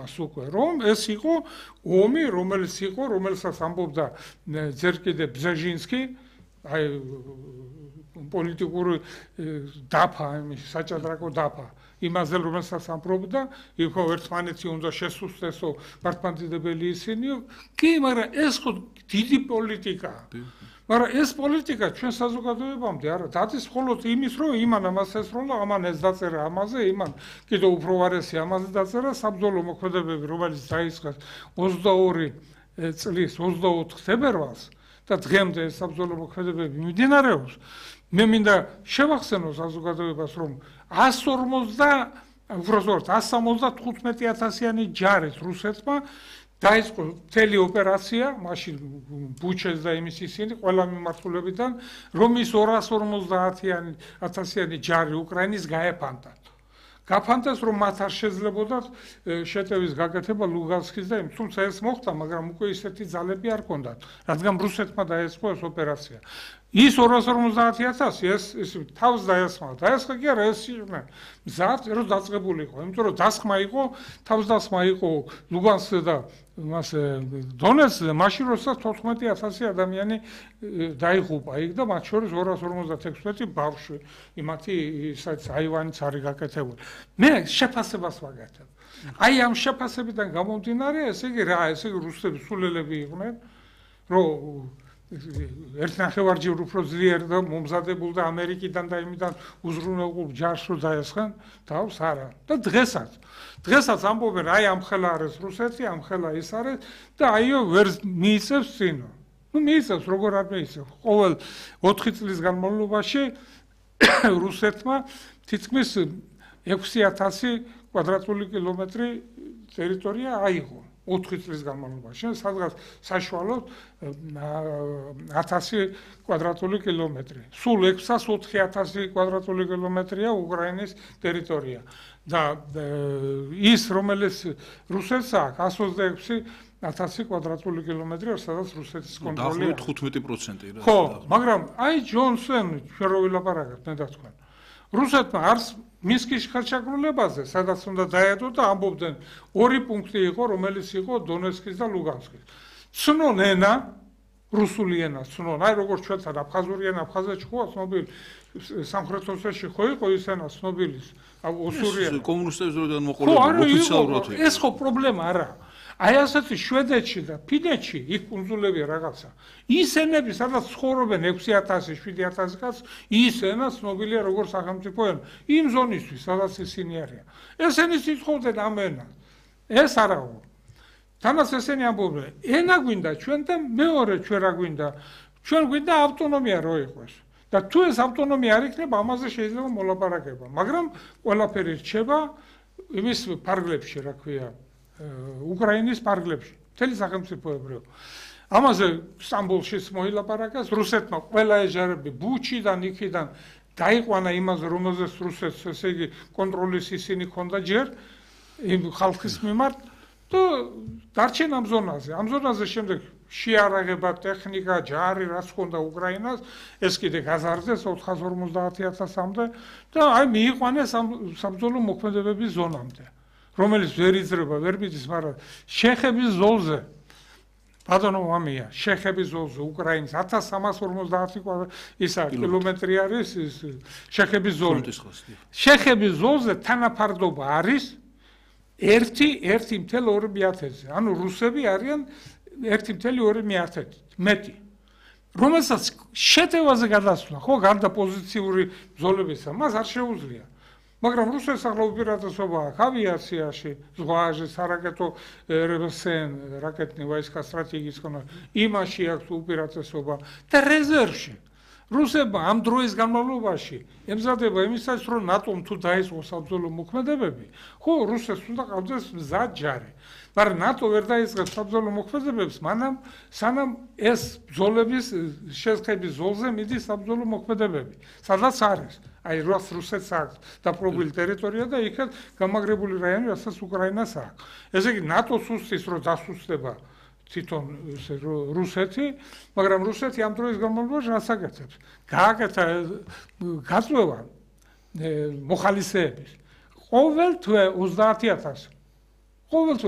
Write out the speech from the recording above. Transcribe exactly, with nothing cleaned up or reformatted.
ამას უკვე, რომ ეს იყო ომი, რომელიც იყო, რომელსაც ამბობდა ჯერ კიდევ ბზეჟინსკი, აი პოლიტიკური დაფა, საჭადრაკო დაფა. იმაზე რომელსაც ამბობდა, იყო ერთმანეთი უნდა შესუსტესო მართლმადიდებელი ისინი, კი, მაგრამ ეს ხო დიდი პოლიტიკაა. მაგრამ ეს პოლიტიკა ჩვენ საზოგადოებამდე არა, დადის მხოლოდ იმის, რომ იმან ამას ესროლა, ამან ეს დაწერა ამაზე, იმან კიდევ უფრო ვარესი ამაზე დაწერა, საბრძოლო მოქმედებები, რომელიც დაიწყეს ოცდაორი წლის ოცდაოთხ თებერვალს და დღემდე ეს საბრძოლო მოქმედებები მიმდინარეობს. მე მინდა შევახსენო საზოგადოებას, რომ εκατს ორმოცდა, უბრალოდ εκατს სამოცდათხუთმეტი ათასიანი ჯარით რუსეთმა დაიწყო მთელი ოპერაცია, მაშინ ბუჩეს და იმის ისინი ყველა მიმართულებიდან, რომ ის ორას ორმოცდაათი ათასიანი ჯარი უკრაინის გაეფანტათ. გაფანტეს, რომ მათ არ შეძლებოდათ შეტევის გაკეთება ლუგანსკის და იმ, თუმცა ეს მოხდა, მაგრამ უკვე ისეთი ძალები არ ჰქონდათ, რადგან რუსეთმა დაიწყო ეს ოპერაცია. ის ორას ორმოცდაათი ათასი ეს ის თავს დაესხმა. დაესხა კი არა, ეს იყვნენ მზად, რომ დაწყებული იყო, იმიტომ რომ დასხმა იყო, თავსდასხმა იყო ლუგანსკზე და მას დონეცკზე, მაშინ როდესაც თოთხმეტი ათასი ადამიანი დაიღუპა იქ და მათ შორის ორას ორმოცდათექვსმეტი ბავშვი, იმათი ისაც აივანიც არის გაკეთებული. მე შეფასებას ვაკეთებ. აი ამ შეფასებიდან გამომდინარე, ესე იგი რა, ესე იგი რუსები სულელები იყვნენ, რომ ერთ ნახევარჯერ უფრო ძლიერ და მომზადებულ და ამერიკიდან და იმიდან უზრუნველყო ჯარს რო დაესხან, თავს არა. და დღესაც, დღესაც ამბობენ, აი ამ ხელა არის რუსეთი, ამ ხელა ის არის და აიო ვერ მიიწევს წინო. ნუ მიიწევს, როგორ არ მიიწევს. ყოველ ოთხი წლის განმავლობაში რუსეთმა თითქმის ექვსი ათასი კვადრატული კილომეტრი ტერიტორია აიღო. ოთხი წლის განმავლობაში, სადღაც საშუალოდ ათასი კვადრატული კილომეტრი. სულ ექვსას ოთხი ათასი კვადრატული კილომეტრია უკრაინის ტერიტორია. და ის, რომელიც რუსეთს აქვს, εκατს ოცდაექვსი ათასი კვადრატული კილომეტრი, სადაც რუსეთის კონტროლი აქვს. თხუთმეტი პროცენტი რა. ხო, მაგრამ აი ჯონსონ, ჩვენ რო ვილაპარაკებთ, მე და თქვენ. რუსეთმა არც მინსკის ხელშეკრულებაზე, სადაც უნდა დაედო და ამბობდნენ, ორი პუნქტი იყო, რომელიც იყო დონეცკის და ლუგანსკის. ცნონ ენა, რუსული ენა ცნონ, აი როგორც ჩვენთან აფხაზური ენა, აფხაზეთში ხო ცნობილი, სამხრეთ ოსეთში ხო იყო ის ენა ცნობილი, ოსური ენა. კომუნისტების დროიდან მოყოლებული ოფიციალურად იყო. ეს ხო პრობლემა არა. აი ასეთი შვედეთში და ფინეთში, იქ კუნძულები რაღაცა. ის ენები, სადაც ცხოვრობენ ექვსი ათასი, შვიდი ათასი კაცი, ის ენა ცნობილია როგორც სახელმწიფო ენა. იმ ზონისთვის, სადაც ისინი არიან. ესენი სიტყვობდნენ ამ ენას. ეს არაო. თანაც ესენი ამბობდნენ, ენა გვინდა ჩვენ და მეორე ჩვენ რა გვინდა? ჩვენ გვინდა ავტონომია რო იყოს. და თუ ეს ავტონომია არ იქნება, ამაზე შეიძლება მოლაპარაკება. მაგრამ ყველაფერი რჩება იმის ფარგლებში, რა ქვია. უკრაინის პარგლებში, მთელი სახელმწიფოებრივ. ამაზე სტამბოლშიც მოილაპარაკეს, რუსეთმა ყველა ეჟარები ბუჩიდან, იქიდან დაიყვანა იმაზე, რომელზეც რუსეთს, ესე იგი, კონტროლის ისინი ჰქონდა ჯერ იმ ხალხის მიმართ და დარჩენ ამ ზონაზე. ამ ზონაზე შემდეგ შეარაღება, ტექნიკა, ჯარი, რაც ჰქონდა უკრაინას, ეს კიდე გაზარდეს ოთხას ორმოცდაათი ათასამდე და აი მიიყვანეს ამ საბრძოლო მოქმედებების ზონამდე. რომელიც ვერ იძლება, ვერ მიდის, მაგრამ შეხების ზოლზე, ბატონო მამია, შეხების ზოლზე უკრაინის ათას სამას ორმოცდაათი ისა კილომეტრი არის ის შეხების ზოლი. შეხების ზოლზე თანაფარდობა არის ერთი ერთი მთელ ორი მეათედზე. ანუ რუსები არიან ერთი მთელი ორი მეათედი, მეტი. რომელსაც შეტევაზე გადასვლა, ხო, გარდა პოზიციური ზოლებისა, მას არ შეუძლია. მაგრამ რუსეთს ახლა უპირატესობა აქვს ავიაციაში, ზღვაზე, სარაკეტო რსნ, რაკეტნი ვაისკა სტრატეგიის კონტროლ, იმაში აქვს უპირატესობა და რეზერვში. რუსებმა ამ დროის განმავლობაში ემზადება იმისათვის, რომ ნატომ თუ დაიწყოს საბრძოლო მოქმედებები, ხო, რუსეთს უნდა ყავდეს მზად ჯარი. მაგრამ ნატო ვერ დაიწყებს საბრძოლო მოქმედებებს, მანამ სანამ ეს ბრძოლების შესხების ზოლზე მიდის საბრძოლო მოქმედებები. სადაც არის? აი რუსეთს აქვს დაპყრობილი ტერიტორია და იქაც გამაგრებული რაიონი, რასაც უკრაინას აქვს. ესე იგი ნატოს უსწრის, რომ დასუსტება თვითონ რუსეთი, მაგრამ რუსეთი ამ დროის განმავლობაში რას აკეთებს? გააკეთა გაწვევა მოხალისეების. ყოველ თვე ოცდაათი ათასი. ყოველ